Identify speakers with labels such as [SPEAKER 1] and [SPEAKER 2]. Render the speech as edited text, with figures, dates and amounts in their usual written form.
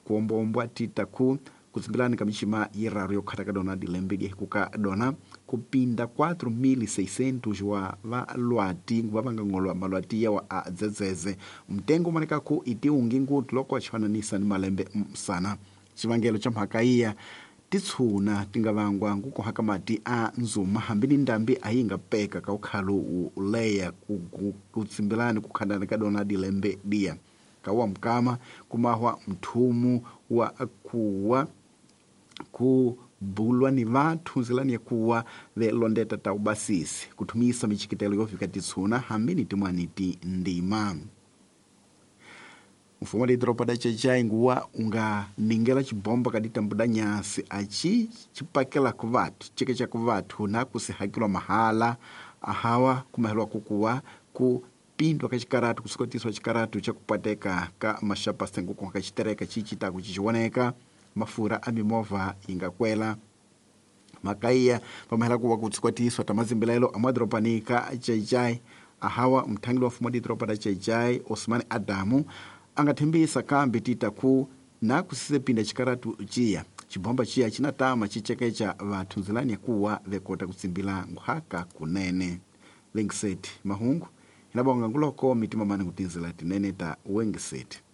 [SPEAKER 1] Kuombombwa tita ku kutsimbilani ka mixima yiraru yo khata ka dona dilembe diehikuka dona kupinda 4600 wa valwati va va nga ngolwa malwati yawa a dzedzeze mtengo umanekaku itiungi nguthu loko achifananisa ni malembe msana. Xivangelo xa mhaka iya titshuna ti nga vangwa ngukoha ka mati a nzuma hambi ni ndambi a yi nga peka ka ukhalo wu leya ku tsimbilani ku khandana ka dona dilembe diya ka wa mukama kumahwa mthumu wa kuwa ku bulwa ni vathu nzilani ya kuwa velondeta ta ubasisi kuthumisa michikitelo yo fika titshuna hambi ni tin'wani tindima. Mfumo wa didoropa da Xai-Xai nguwa unga ningela xibomba ka ditambu da nyasi aci cipakela ku vathu ceke ku vathu na kusihakilwa mahala ahawa kumahelwa kukuwa ku pindwa ka xikaratu kusukotiswa xikaratu xa kupateka ka maxapa senguko ka xitereka xi citaku xixivoneka mafurha a mimovha yi nga kwela mhaka iya vamahela kuva ku tsukwatiswa ta mazimbilelo amadorobani ka Xai-Xai ahawa mthangeli wa mfumo wa didoroba da Xai-Xai Osman Adamu a nga thembisa kambe tita ku na kusisepinda xikaratu ciya xibomba ciya xi na tama xi cekeca vathu nzilani ya kuwa vekota ku tsimbila nkhwaka kunene. Lengiseti mahungu hina bonga nguloko mitima mani ku tinzila tinene ta wengiseti.